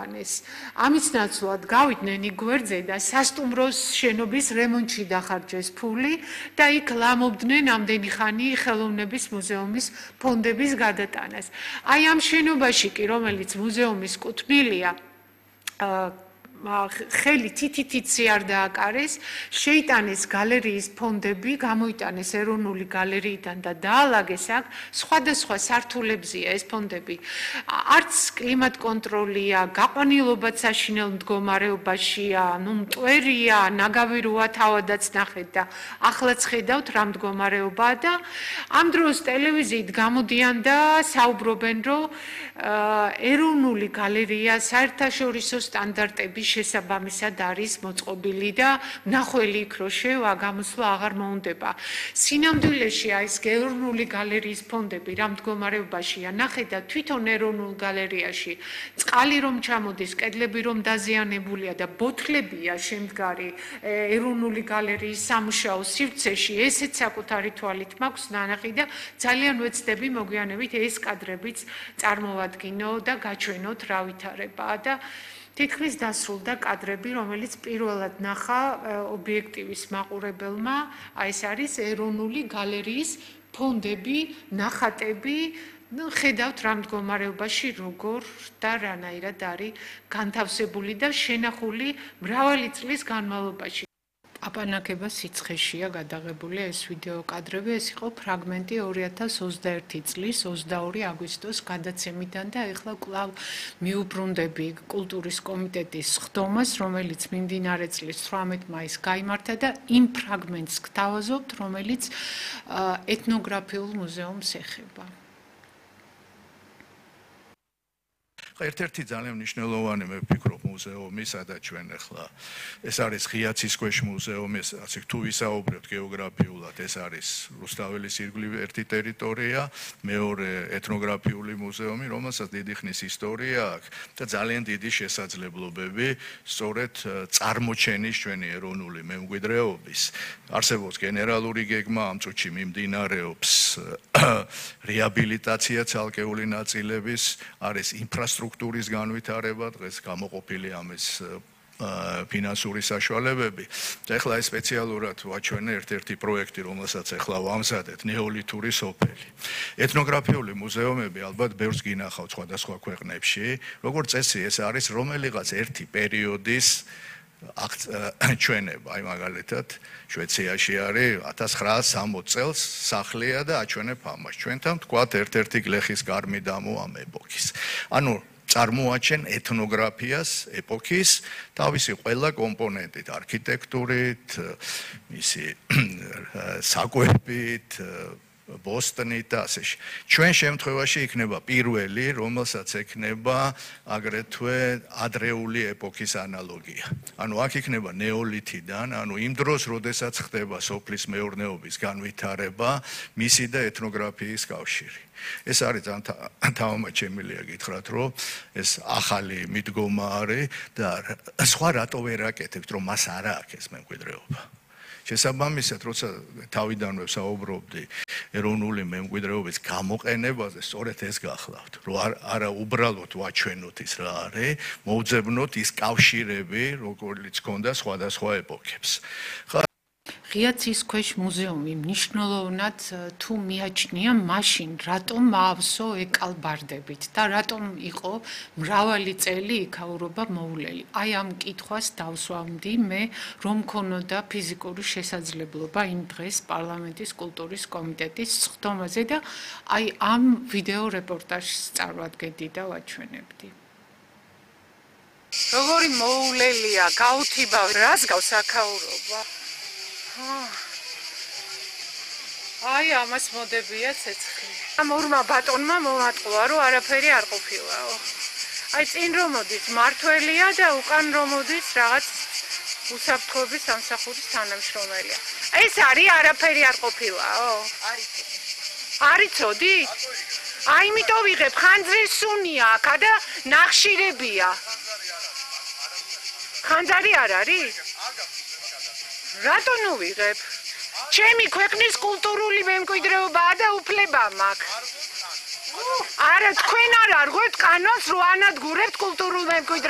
გაიყვანეს. ამის ნაცვლად გავიდნენ იქ გვერდზე და სასტუმროს შენობის რემონტში დახარჯეს ფული და იქ ლამობდნენ ამდენი ხანი ხელოვნების მუზეუმის ფონდების გადატანას. აი ამ შენობაში კი, რომელიც მუზეუმის კუთვნილია, ხელი თითითიცი არ დააკარეს, შეიტანეს გალერეის ფონდები, გამოიტანეს ეროვნული გალერეიდან და დაალაგეს აქ სხვადასხვა სართულებზია ეს ფონდები. არც კლიმატ კონტროლია, გაყვანილობაც საშინელ მდგომარეობაშია, მტვერია, ნაგავი როა თავადაც ნახეთ და ახლაც ხედავთ რა მდგომარეობაა და ამ დროს ტელევიზიით გამოდიან და საუბრობენ, რომ ეროვნული გალერეა საერთაშორისო სტანდარტების შესაბამისად არის მოწყობილი და ნახველი იქ რო შევა გამოსვლა აღარ მოუნდება. სინამდვილეში ეს ეროვნული გალერეის ფონდები რა მდგომარეობაშია, ნახეთ და თვითონ ეროვნულ გალერეაში წყალი რომ ჩამოდის, კედლები რომ დაზიანებულია და ბოთლებია შემდგარი ეროვნული გალერეის სამუშაო სივრცეში, ესეც საკუთარი თვალით მაქვს ნანახი და ძალიან ვეცდები მოგვიანებით ეს კადრებიც წარმოვადგინო და გაჩვენოთ რა ვითარებაა და თითქმის დასრულდა კადრები, რომელიც პირველად ნახა ობიექტივის მაყურებელმა, ეს არის ეროვნული გალერეის ფონდები, ნახატები, ხედავთ რა მდგომარეობაში როგორ და რანაირად არის განთავსებული და შენახული მრავალი წლის განმავლობაში. აპანაკება სიცხეშია გადაღებული ეს ვიდეო კადრები, ეს იყო ფრაგმენტი 2021 წლის 22 აგვისტოს გადაცემიდან და ეხლა კვლავ მიუბრუნდები კულტურის კომიტეტის ხდომას, რომელიც მიმდინარე წლის 18 მაისს გაიმართა და იმ ფრაგმენტს გთავაზობთ, რომელიც ეთნოგრაფიულ მუზეუმს ეხება. ერთ-ერთი ძალიან მნიშვნელოვანი მე ვფიქრობ მუზეუმი, სადაც ჩვენ ახლა ეს არის ღიაცის ქვეშ მუზეუმი, ასე თუ ვისაუბრებთ გეოგრაფიულად, ეს არის რუსთაველის ირგვლივ ერთი ტერიტორია, მეორე ეთნოგრაფიული მუზეუმი, რომელსაც დიდი ხნის ისტორია აქვს და ძალიან დიდი შესაძლებლობები სწორედ წარმოჩენის ჩვენი ეროვნული მემკვიდრეობის. არსებობს გენერალური გეგმა, ამ წუთში მიმდინარეობს რეაბილიტაცია ცალკეული ნაწილების, არის ინფრასტრუქტურის განვითარება, დღეს გამოყოფილი ამის ფინანსური საშუალებები. და ეხლა ეს სპეციალურად ვაჩვენე ერთ-ერთი პროექტი, რომელსაც ეხლა ვამზადეთ, ნეოლითური სოფელი. ეთნოგრაფიული მუზეუმები ალბათ ბევრს გინახავთ სხვადასხვა ქვეყნებში. როგორც წესი, ეს არის რომელიღაც ერთი პერიოდის ჩვენება, აი მაგალითად შვეიცარიაში არის 1960 წელს სახლია და აჩვენებ ამას. ჩვენთან თქვათ ერთ-ერთი გლეხის გარმიდამო ამ ეპოქის. ანუ წარმოაჩენ ეთნოგრაფიას ეპოქის თავისი ყველა კომპონენტით, არქიტექტურით, მისი საკვებით, ბოსტონით და ასე. ჩვენ შემთხვევაში იქნება პირველი, რომელსაც ექნება აგრეთვე ადრეული ეპოქის ანალოგია. ანუ აქ იქნება ნეოლითიდან, ანუ იმ დროს, როდესაც ხდება სოფლის მეურნეობის განვითარება, მისი და ეთნოგრაფიის კავშირი. ეს არის თამამად შემიძლია გითხრათ, რომ ეს ახალი მიდგომა არის და სხვა რატო ვერ აკეთებთ, რომ მას არ აქვს ეს მემკვიდრეობა. შესაბამისად, როცა თავიდანვე საუბრობდი ეროვნული მემკვიდრეობის გამოყენებაზე, სწორედ ეს გახლავთ, რომ არა უბრალოდ ვაჩვენოთ ის რა არის, მოვძებნოთ ის კავშირები, როგორც ჰქონდა სხვადასხვა ეპოქებს. ღიაცის ქვეშ მუზეუმი მნიშვნელოვნად თუ მიაჩნია მაშინ, რატომ მაავსო ეკალბარდებით და რატომ იყო მრავალი წელი იქაურობა მოულელი. აი ამ კითხვას დავსვამდი მე, რომ მქონოდა ფიზიკური შესაძლებლობა იმ დღეს პარლამენტის კულტურის კომიტეტის ხდომაზე და აი ამ ვიდეო რეპორტაჟს წარვადგენდი და ვაჩვენებდი. როგორი მოულელია, გაუთიბავ, რას გავს აქაურობა? აი ამას მოდებია ცეცხლი. ამ ორმა ბატონმა მომატყვა, რომ არაფერი არ ყოფილაო. აი წინ რომ მოდის მართველია და უკან რომ მოდის რაღაც უსაფრთხოების სამსახურის თანამშრომელია. ეს არის არაფერი არ ყოფილაო. არიცოდი? აი იმიტომ ვიღებ ხანძრის სუნია აქ და ნახშირებია. ხანძარი არ არის? რატო ნუ ვიღებ? ჩემი ქვეყნის კულტურული მემკვიდრეობაა და უფლება მაქვს. არა თქვენ არ არღვევთ კანონს, რომ ანადგურებთ კულტურულ მემკვიდრეობას.